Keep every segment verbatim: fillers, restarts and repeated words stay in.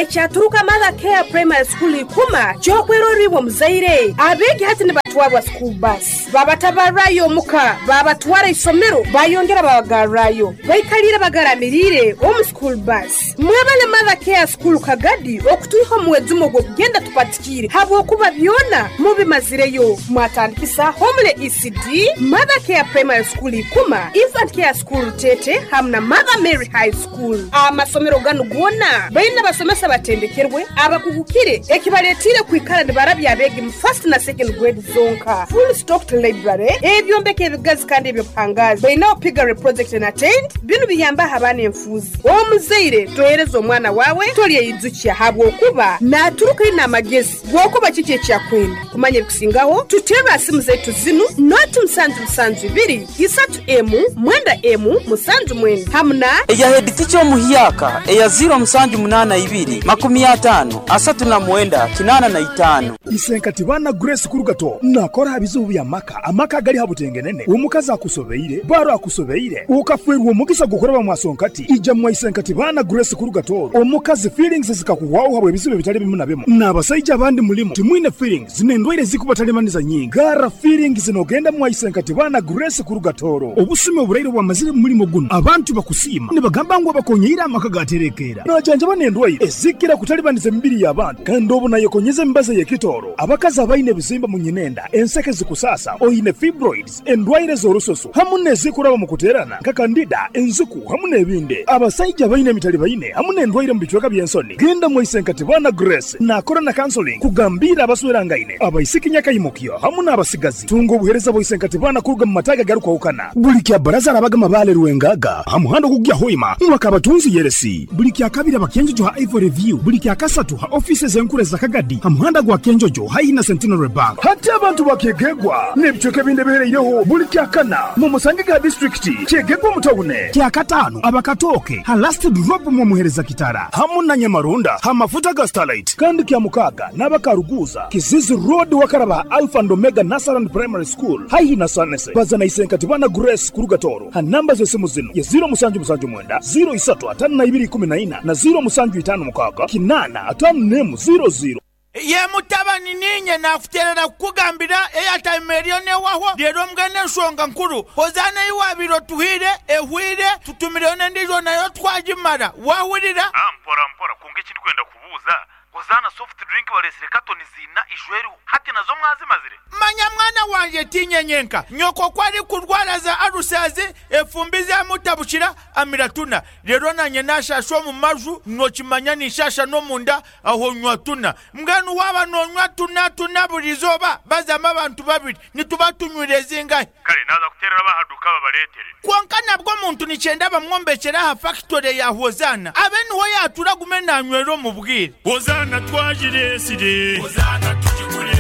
Ekyaturuka Mother Care Primary School ikuma kyokweroribwa muzaire. Abegi hati nibatwarwa school bus. Babatabarayo omuka, babatwara isomero, bayongera babagarrayo. Baikalira bagaramirire omu school bus. Mwebale Mother Care School Kagadi okutuiho muwezumo gw'okugenda tupatikire. Habwokuba byona mubimazireyo. Mwatandikisa Homule E C D, Mother Care Primary School ikuma, Infant Care School Tete, hamna Mother Mary High School. Amasomero ganu gona baina basomesa batendekerwe abakugukire ekibaletire kwikara nibarabya abegi mu first na second grade zonka. Full stocked library, ebyombeko ebigazi kandi ebyobuhangazi. Baina piggery project and attend binu biyamba abana enfuzi. Omuzaire tohereza omwana wawe tolyeyizukia habwokuba naturuka ina amagezi gwokuba kiki ekyakwenda. Kumanya ebikusingaho tutera simu zetu zinu noti musanju musanju ibiri isatu emu mwenda emu musanju mwenda hamna eya head teacher omuhyaka eya zero musanju munana ibiri makumi atano asatu na mwenda kinana na itano. Isenkati bana Grace Kurugato nakora bizubu bya maka amaka gali habutengenene omukazi akusobeire baro akusobeire ukafwerwa omugisa gukora bamwasonkati ija mwa Isenkati bana Grace Kurugato omukazi feelings zikakuwaho habwe bizubu bitali bimu na bimu n'abasajja abandi mulimo timwine feelings zinendwaire zikubatalemaniza nyingi gara feelings zinogenda mwa Isenkati bana Grace Kurugatoro obusime oburaire bwamazire mulimo guno abantu bakusima nibagamba ngo bakonyeira amaka gaterekera najanja banendwaire ezikira kutalibaniza emibiri y'abantu kandi obu nayekonyeza embaza y'ekitoro abakazi abaine ebizimba mu nyinenda enseke zikusasa oyine fibroids endwaire z'orususu hamu n'ezikuraba mu kuterana nka kandida enzuku hamu n'ebindi abasajja baine emitali baine hamu n'endwaire mu bicweka by'ensoni genda mu Isenkati bana Grace nakora na counseling kugambira abaswerangaine abaisiki nyakayimukyo hamu n'abasigazi tunga obuhereza bwa Isenkati bana kuruga mu mataga garukwahukana buli kya baraza arabaga mabale ruwengaga hamuhando kugya hoima mwakabatunzi yeresi buli kya kabiri abakenjojo ha Ivory View buli kya kasatu ha offices enkure za Kagadi hamuhanda gwa Kenjojo haina Centenary Bank hati abantu bakegegwa n'ebicweka ebindi bihereireho buli kya kana mu musange ga district kyegegwa mutawune kya katano abakatoke ha last drop mu muhereza kitara hamu na Nyamarunda ha mafuta ga Starlight kandi kya mukaga n'abakaruguza Kizizi Road wakaraba Alpha and Omega Nasaran Primary School haihi na Sanese bazana Isenkati bana Grace Kurugatoro ha namba z'esimu zino ya zero musanju musanju mwenda zero isatu atano na ibiri kumi na ina na zero musanju itano mukaga kinana atano nemu zero zero. Ye mutabani ninye nakuterera kukugambira eyatime eriyo newaho rero mbwene ensonga nkuru hozana iwabiro tuhire ehwire tutumireyo n'endijo nayo twagimara wahurira mpora mpora kunga ekindi kwenda kubuuza hozana soft drink balesire katoni zina ijweriho hati nazo mwazimazire. Manya mwana wanje tinyenyenka nyoko kwari kurwara za arusazi efumbi zamutabukira amiratuna rero nanye nashasha mu maju nokimanya nishasha no munda aho nywa tuna mbwenu waba nonywa tuna tuna burizoba bazama abantu babiri nituba tunywire zingahe kale naza kuterera bahaduka babaletere konka nabwo muntu nicyenda bamwombekera ha factory ya Hozana abe niho yatura gume nanywero mu bwire Hozana twajiresire Hozana tujigure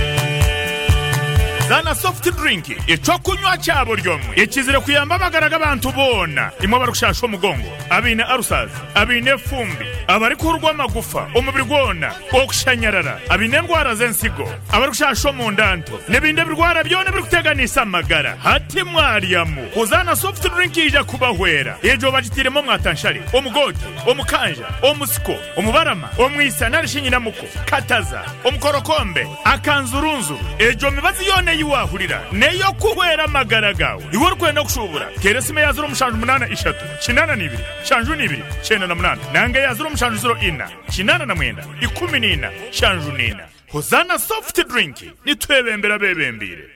Zana soft drink ecokunywa cyabo ryomwe ekizire kuyamba amagara abantu bona imwe barukushasha omugongo abine arusaz abine fumbi abari kurwa amagufa omubiri gwona okushanyarara abine ndwara z'ensigo abari kushasha omundanto n'ebindi birwara byona birikuteganisa amagara hati mwaryamu Hozana soft drink ija kubahwera ejo bagitiremo mwatanshari omugote omukanja omusiko omubarama omwisa narishinyinamuko kataza omukorokombe akanzurunzu ejo mibazi yone yiwahurira neyo kuhwera amagara gawe iwe urikwenda kushubura teresime ya zero mushanju munana ishatu kinana nibiri shanju nibiri chenda na munana nange ya zero mushanju zero ina kinana na mwenda ikumi nina shanju nina. Hozana soft drink nitwebembera bebembire.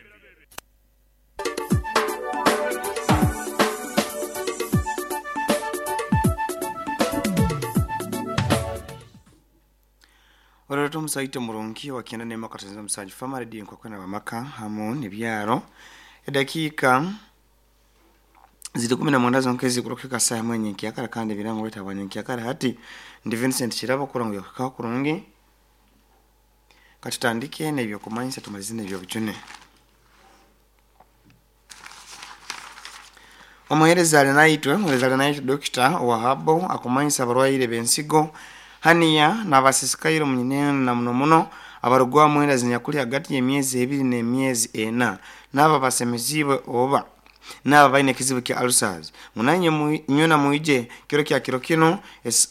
Orero musaite murungi wakienda nema katanza msaji fama radio kwa kwena mamaka hamu ni byaro edakika zidi kumi na mwenda zonkezi kurokeka saa mwenye kiakara kandi birango leta bwanyo kiakara hati ndi Vincent Chirabo kurango yakaka kurungi katutandike na ibyo kumanyisa tumalizine ibyo bijune. Omuhereza alinaitwe omuhereza alinaitwe Doctor Wahabo akumanyisa abarwaire bensigo haniya n'abasisikaire munyine na muno muno abarugwa mwenda zinyakuli hagati y'emyezi ebiri n'emyezi ena n'aba basemeziibwe oba N'aba baine ekizibu kya ulcers munanye nywena mwije kiro kya kiro kino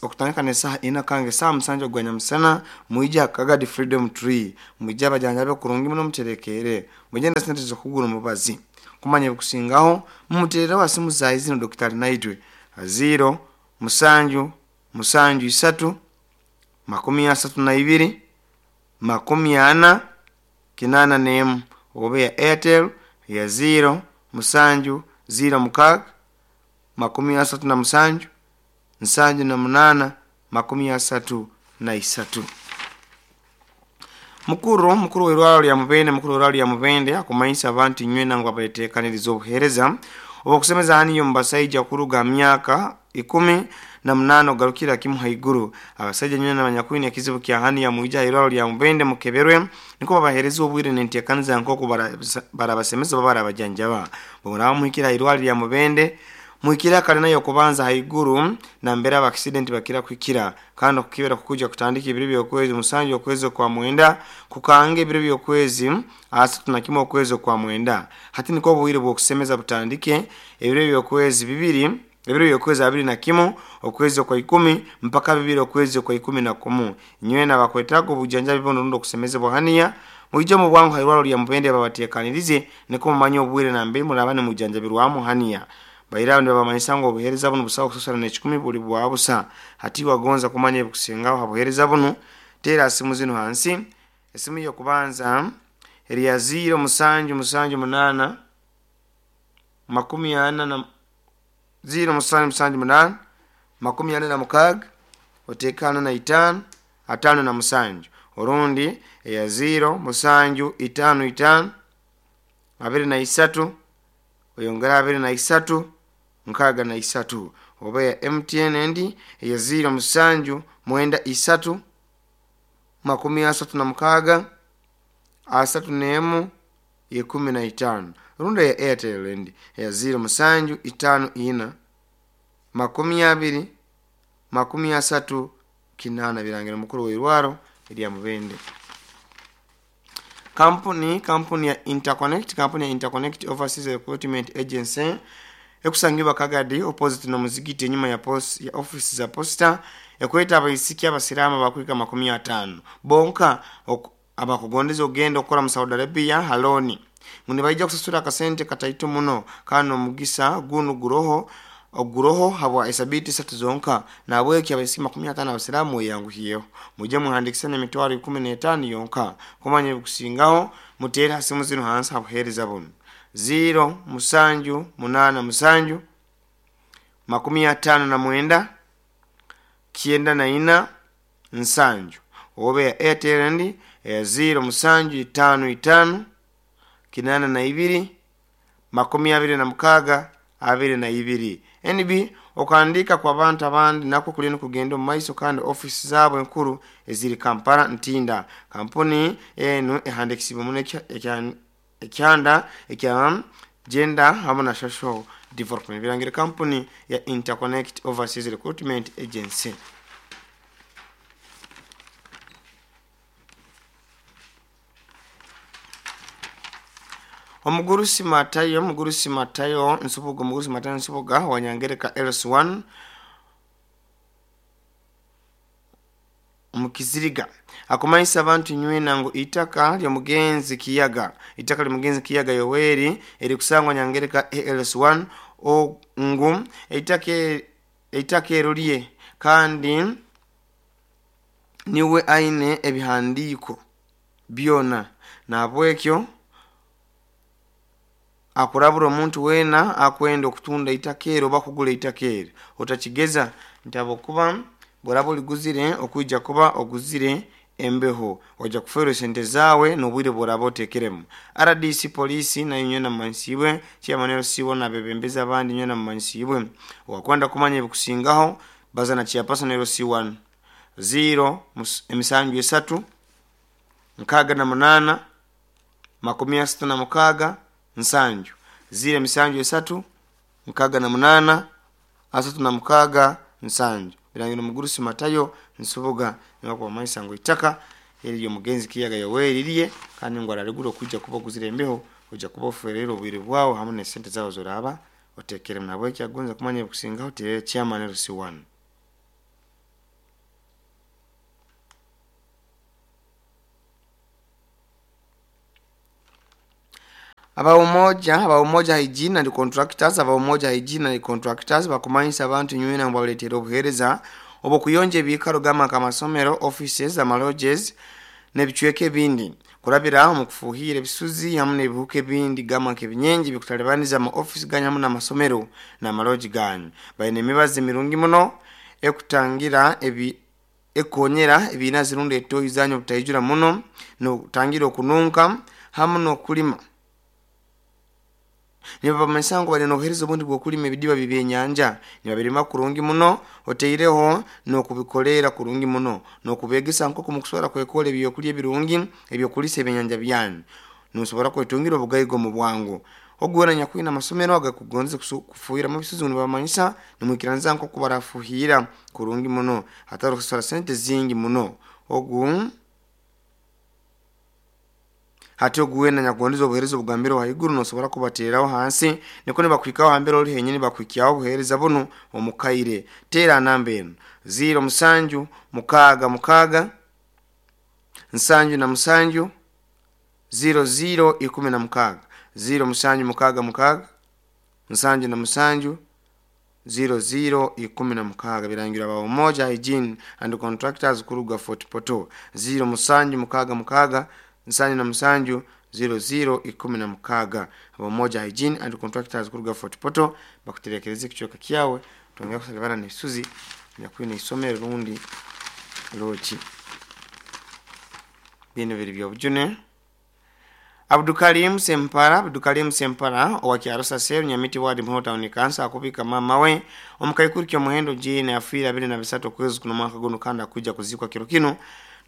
okutandika n'esaaha ina kange saa musanju ogwa nyamusana mwije akagadi Freedom Tree mwije abajanjabe kurungi muno muterekere mwije na sente z'okugura omubazi kumanya ebikusingaho mumuterere wa simu zayi zino Dokitari Naitwe ziro musanju musanju isatu makumi asatu na ibiri makumi ana kinana nemu obe ya Airtel ya ziro musanju ziro mukaga makumi asatu na musanju nsanju na munana makumi asatu na isatu. Mukuru mukuru w'irwaro lya Mubende mukuru w'irwaro lya Mubende akumanyisa abantu nywena ngo abateekaniriza obuheereza obukusemeza haniyo mubasaija kuruga myaka ikumi na munano garukira kimu haiguru. Abasajja nywena abanyakwine ekizibu kya hani ya mwija irwaro lya Mubende mukeberwe niko babahereza obwire n'enteekaniza nk'oku barabasemeza oba barabajanjaba. Bw'oraba muhikira irwaro lya Mubende muhikira kare nayo kubanza haiguru na mbere aba accident bakira kwikira kandi okukibera kukuja kutandika ebiro by'okwezi musanju okwezi kwa mwenda kukange ebiro by'okwezi asatu na kimwe okwezi kwa mwenda. Hati niko obwire bw'okusemeza butandike ebiro by'okwezi bibiri ebiro by'okwezi abiri na kimu okwezi kwa ikumi mpaka bibiri okwezi kwa ikumi na kumu. Nywena bakwetaga obujanjabi buno rundi okusemezebwa haniya mwije mu bwangu hairwaro lya Mubende babateekanirize niko mumanye obwire na mbere murabane mujanjabirwamu haniya. Bairao ndio bamanyisa ngo obuheereza buno busawo kusasura n'ekikumi buli bwa busa. Hati wagonza kumanya ebikusingaho ha buheereza buno teera simu zino hansi. Esimu y'okubanza eri ya ziro musanju musanju munana makumi ana na ziro musanju musanju munana makumi ana na mukaga oteekana na itaano atano na musanju. Orundi eya ziro musanju itaano itaano abiri na isatu oyongera abiri na isatu nkaga na isatu. Oba ya M T N endi eya ziro musanju mwenda isatu makumi asatu na mukaga asatu n'emu ikumi na itaano. Rundi ya Airtel endi eya ziro musanju itaano ina makumi abiri makumi asatu kinana. Birangira mukuru w'irwaro erya Mubende. Kampuni kampuni ya Interconnect kampuni ya Interconnect Overseas Recruitment Agency ekusangibwa Kagadi opposite na muzigiti enyuma ya post ya office za posta ekweta abaisiki abasirama bakwika makumi atano bonka abakugondeza ogenda okora mu Saudi Arabia haloni nguni baija kusasura akasente kataito muno kano mugisa gunu guroho oguroho habwa esabiti satu zonka na bweki abaisiki makumi atano abasiramu yanguhiyeho muje muhandikisane emitwaro ikumi n'etaano yonka kumanya ebikusingaho muteere hasimu zino hansi habuheereza buno ziro musanju munana musanju makumi atano na mwenda kienda na ina nsanju. Obe ya Airtel ndi ya ziro musanju itaano itaano kinana na ibiri makumi abiri na mukaga abiri na ibiri. N B okandika kwa bantu abandi nako kulino kugenda mu maiso kandi office zabo enkuru eziri Kampala Ntinda. Kampuni eno ehandikisibwa muno ekyanda ekya gender hamwe na social development. Birangira kampuni ya Interconnect Overseas Recruitment Agency. Omugurusi Matayo Omugurusi Matayo Nsubuga Omugurusi Matayo Nsubuga wanyangereka L S one mukiziriga akumanyisa abantu nywena ngo itaka lya mugenzi Kiyaga itaka lya mugenzi Kiyaga Yoweri eri kusangwa nyangereka L S one o ngu itaka itaka erolye kandi niwe aine ebihandiko byona nabwekyo akurabura omuntu wena akwenda okutunda itakero bakugula itakero otakigeza ntabo kuba borabo liguzire okuija kuba oguzire embeho oja kuferwa sente zawe nobwire borabo tekeremu. R D C polisi na nyona mansiwe chairman siwo na bebembeza abandi nyona mansiwe wakwanda kumanya ebikusingaho bazana chairperson L C one zero emisanju esatu nkaga na munana makumi asatu na mukaga nsanju zile emisanju esatu nkaga na munana asatu na mukaga nsanju. Birangira Omugurusi Matayo Nsubuga nako maisa ngo itaka eriyo mugenzi Kiyaga Yoweri liye kandi ngo araregura kujja kuba guzire embeho ojja kuba oferera obwire bwawe hamu n'esente zawe zoraba otekere nabweki agonza kumanya ebikusingaho terere chairman L C one. Aba umoja, aba umoja hygiene and contractors, aba umoja hygiene and contractors bakumanyisa abantu nywena ngo baletera obuhereza obukuyonje ebikaro gama kamasomero, offices, amalodges n'ebicweka ebindi kurabira mu kufuhira ebisuzi hamwe n'ebihuka ebindi gama nk'ebinyengi bikutalibaniza ama office ganyu hamwe n'amasomero n'amaloji ganyu. Bayine emibazi mirungi muno ekutangira ebi ekonyera ebina zirunda etoyi zanyu obutayijura muno n'okutangira okununka hamwe n'okulima. Niba bali nobuhereza obundi bw'okulima ebidiba bibyenyanja nibabirima kurungi muno oteireho n'okubikolera kurungi muno n'okubegesa nk'oku mukusobora kwekola ebyokulya ebirungi ebyokulisa ebyenyanja byanyu nosobora kwetungira obugaiga omu bwangu. Ogwera nyakwina amasomero agakugonza kufuhira mu bisuzi nibamanyisa nimwikiranza nk'oku barafuhira kurungi muno hatari kusora sente zingi muno. Ogu hati oguwena nyakugonza obuhereza obugambiro haiguru nosobora kubateraho hansi niko nibakwikaho hambere ori henyini bakwikyaho obuhereza buno omukaire. Tera namba eno zero musanju mukaga mukaga nsanju na musanju zero zero ikumi na mukaga zero musanju mukaga mukaga nsanju na musanju zero zero ikumi na mukaga. Birangira ba umoja hygiene and contractors kuruga Fort Portal zero musanju mukaga mukaga nsanju na musanju zero zero ikumi na mukaga. Umoja hygiene and contractors kuruga Fort Portal bakuterekereza ekicoka kyawe tongera kusalibana n'ebisuzi nyakwine isomero rundi loki bino biri byobujune. Abdukarim Sempara, Abdukarim Sempara owa Kyarusa Seru Nyamiti Ward Muhoro Town Council akubika mama we omukaikuru kyomuhendo jine afiira abiri na bisatu kwezi kuno mwaka guno kandi akuja kuzikwa kiro kino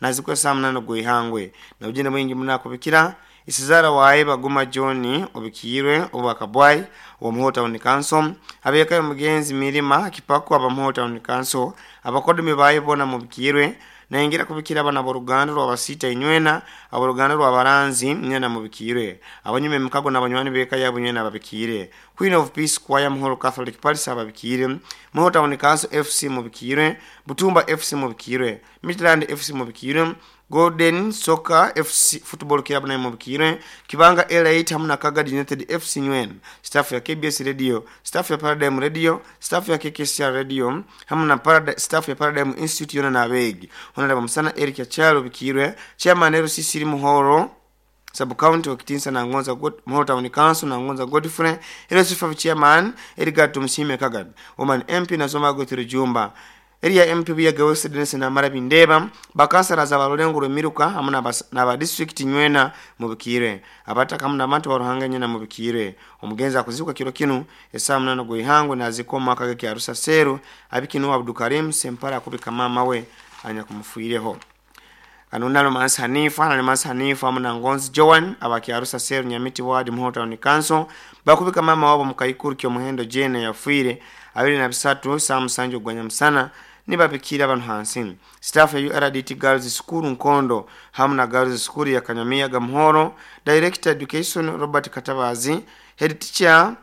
nazikwa saa munana gwihangwe na ujine mwingi munakubikira isizara wae baguma John obikirwe obakabwai wa Muhoro Town Council abeka mugenzi mirima kipako aba Muhoro Town Council abakodumi bae bona mubikirwe naingira kubikira abana boruganda rwabasita inywena aboruganda rwabaranzi nyena mubikire abanyume mukago nabanywani beka yabo nywena babikire Queen of Peace Choir Muhoro Catholic Parish ababikire Muhoro Town Council F C mubikire Butumba F C mubikire Midland F C mubikire Golden Soccer F C Football Club na mubikire Kibanga L eight hamwe na Kagadi United F C nywena staff ya K B S Radio, staff ya Paradigm Radio, staff ya K K C R Radio hamwe na Parad- staff ya Paradigm Institute yona nabegi Honorable Musana Eric Achalo bikirwe Chairman L C C Muhoro Sub County wakitinsa na Ngonza God Muhoro Town Council na Ngonza Godfrey L C five Chairman Edgar Tumshime Kagad Woman M P na Soma Gotiro Jumba Area M P ya Gawese Dennis na Mara Bindeba bakansara za Balulengo Miruka hamwe na ba district nywena mubikire abataka hamwe n'abantu baruhanga nyena mubikire omugenzi akuzibuka kiro kino esaa munana gwihango nazikoma akage kya Rusa Seru abikinu Abdukarim Sempara akubika mama we anya kumufuireho Anunalo Mansa Hanifa na Mansa Hanifa hamwe na Ngonzi Joan abakyarusa Seru Nyamiti Ward Muhoro Town Council bakubika mama wabo mukaikuru kyo muhendo jene yafuire abiri na bisatu saa musanju gwanya musana nibabikira abantu hansi. Staff ya U R D T Girls School Nkondo hamwe na Girls School ya Kanyamiya Gamuhoro, Director Education Robert Katabazi, Head Teacher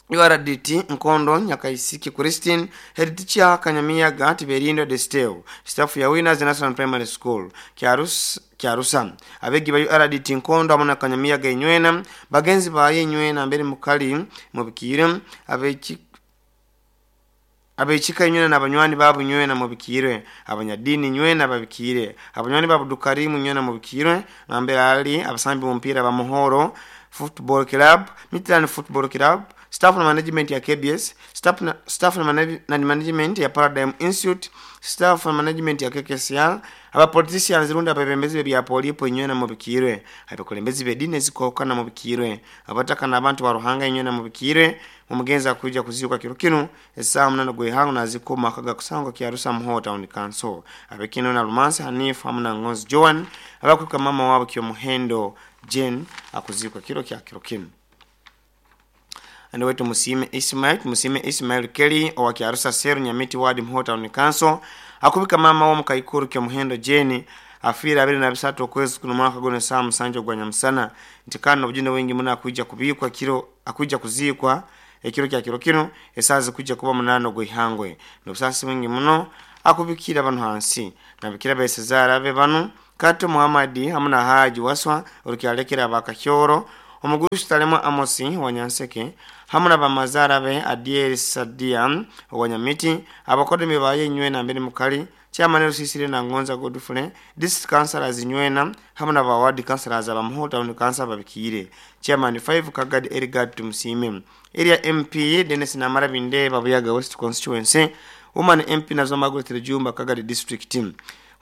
U R D T Nkondo Nyakaisiki Christine, Head Teacher Kanyamiya Gati Berindo Desteo, staff ya Winners National Primary School Kyarus Kyarusa, abegi ba U R D T Nkondo hamwe na Kanyamiya Genywena, bagenzi ba Yenywena mbere mukali mubikire abeki abechika nywena nabanywani babu nywena mubikire abanyadini nywena babikire abanywani babu dukarimu nywena mubikire nambere ali abasambi mumpira ba Muhoro Football Club, Midland Football Club, staff na management ya K B S, staff na, staff na, manage, na management ya Paradigm Institute, staff na management ya K K C R, aba politicians runda abebembezi bya polipo nywena mubikire abakulembezi bedine zikokana mubikire abataka nabantu baruhanga nywena mubikire umugenza akuja kuziuka kiro kino esaa munana gwehango nazikoma akaga kusangwa kyarusa Muhoro Town Council abekino na Lumansi Hanif hamwe na Ngonzi Joan abakuka mama wabo kyo muhendo Jane akuzikwa kiro kya kiro kino. Ando wetu Musime Ismail, Musime Ismail Kelly owa Kyarusa Seru Nyamiti Ward Muhoro Town Council akubika mama wa mukaikuru kyo muhendo Jane afiire abiri na bisatu okwezi kuno mwaka guno saa musanju ogwa nyamusana nti kandi obujune bwingi muno akuija kubikwa kiro akuija kuziikwa ekiro kya kiro kino esaa zikuija kuba munana ogw'ihangwe n'obusaasi bwingi muno akubikira bano hansi nabikira besezaara be bano Kato Muhammad hamwe na Haji Waswa orukyalekera abakakyoro omugurusi Talemo Amosi wanyanseke hamwe na bamazara be Adiel Sadia wanyamiti abakodemi baye nywena mbere mukali chairman Rusisire na Ngonza Godfrey district councillors nywena hamwe na ba ward councillors abamuho town council babikire chairman five Kagad Erigad Tumsime area M P Dennis Namara Binde Babuyaga West constituency woman M P Nazo Margaret Jumba Kagad district team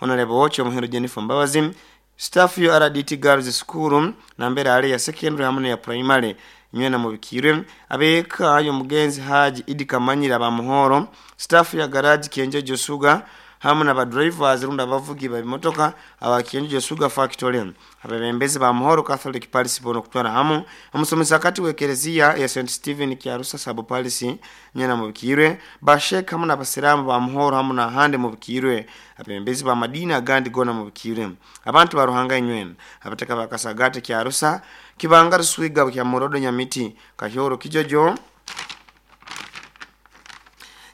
Honorable Ocho Muhiro Jennifer Mbabazi staff yo R D T Girls School na mbere ale ya secondary hamwe ya primary nywena mubikire abeka yo mugenzi Haji Idi Kamanyira bamuhoro staff ya garage Kienjo Josuga hamwe na ba drivers runda bavugi ba bimotoka aba Kienjo Josuga factory abebembezi ba Muhoro Catholic Parish bono kutwara hamu amusomesa kati wekerezia ya Saint Stephen Kyarusa sabo Parish nywena mubikire bashek hamwe na basiramu ba Muhoro hamwe na hande mubikire abebembezi ba Madina gandi gona mubikire abantu baruhanga nywena abateka bakasagate Kyarusa kibanga ruswiga kya Morodo Nyamiti Kahyoro Kijojo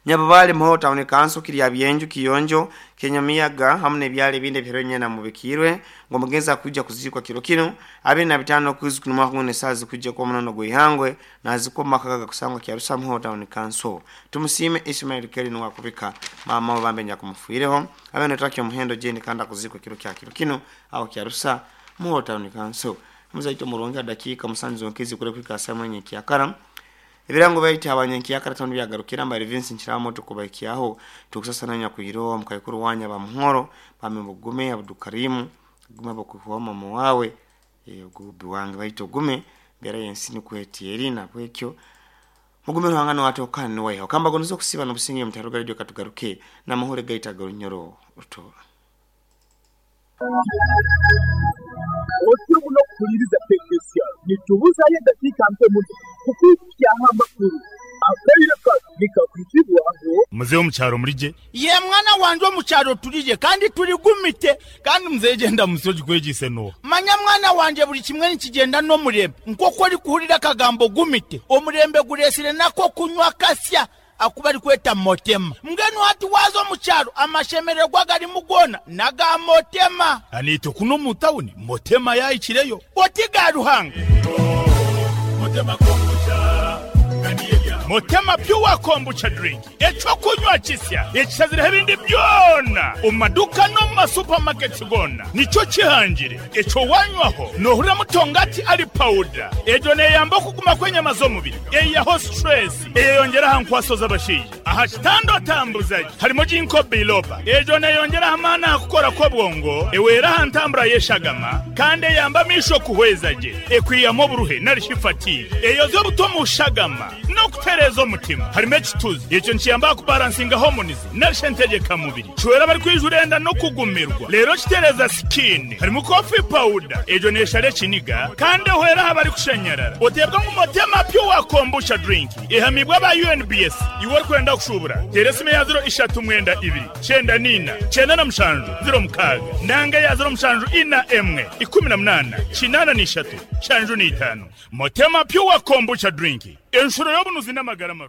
Nyababale Muhoro Town Council kiri byenju Kiyonjo Kenyamiyaga hamwe nebyale binde byeronye na mubikirwe ngo mugenza kuja kuzikwa kiro kino abe na bitano kuzi kunuma kumwe sazi kuja kwa munono gwihangwe naziko makaga kusangwa Kyarusa Muhoro Town Council tumusime Ismail Kelly no wakubika mama bambenya kumufuireho abe netakyo muhendo jeni kanda kuzikwa kiro kya kiro kino aho Kyarusa Muhoro Town Council muzaito muronga dakika musanzu nkezi kure kwikasa mwenye kyakara ebirango bayita abanyankiyakara town byagarukira mbari Vincent Kiramoto kubakiyaho tukusasa nanya kuyirowa mukayikuru wanya bamuhoro bamembugume Abdukarimu gume bakuwa mama wawe gubi wange bayito gume bera yensini kwetieri na bwekyo mugume ruhangano watokana ni wayo kamba gonozo kusiba no businge mutaruga radio katugaruke na mahore gaita garunyoro utora Otubuno kuliriza teknisiya nitubuza ye dakika mpe muno kukwikyaho amakuru akaireka nikakwitibwaho muzehe omukyaro mulije ye mwana wanje omukyaro tulije kandi tuligumite kandi muzehe genda musoji kwegise no manya mwana wanje buli kimwe nikigenda n'omurembe nk'oku orikuhurira akagambo gumite omurembe guresire nako kunywa kasya akuba rikweta motema mbwenu hati waza omukyaro amashemererwa garimu gona naga motema anito kuno mu tawuni motema yayikireyo oti ga ruhanga motema kombucha Motema pure kombucha drink echo kunywa kisya ekisazira ebindi byona omaduka no ma supermarket gona nico kihangire echo wanywaho nohura mutongati ali powder ejo neyamba kuguma kwenyama z'omubiri eyaho stress eyongera hankwaso z'abashije aha kitando tambuzaji harimo jinko biloba ejo neyongera hamana kukora ko bwongo ewera hantambura yeshagama kandi yamba misho kuhwezaje ekwiyamo buruhe narishifati eyo zo butomushagama no kutereza omutima harimo ekituzi ekyo nkiyamba kubalansinga hormones narishentegeka mubiri chwera bari kwijurenda no kugumirwa lero kitereza skin harimo coffee powder ejo neshare kiniga kandi hwera habari kushenyerera otebwa mu motema pure kombucha drink ihamibwa ba U N B S iwe kwenda kushubura teresime ya zero ishatu mwenda ibiri cyenda nina cyenda na mushanju zero mukaga nanga ya zero mushanju ina emwe ikumi na munana kinana n'ishatu shanju n'itanu motema pure kombucha drink enshuro y'obunuzi n'amagara maru.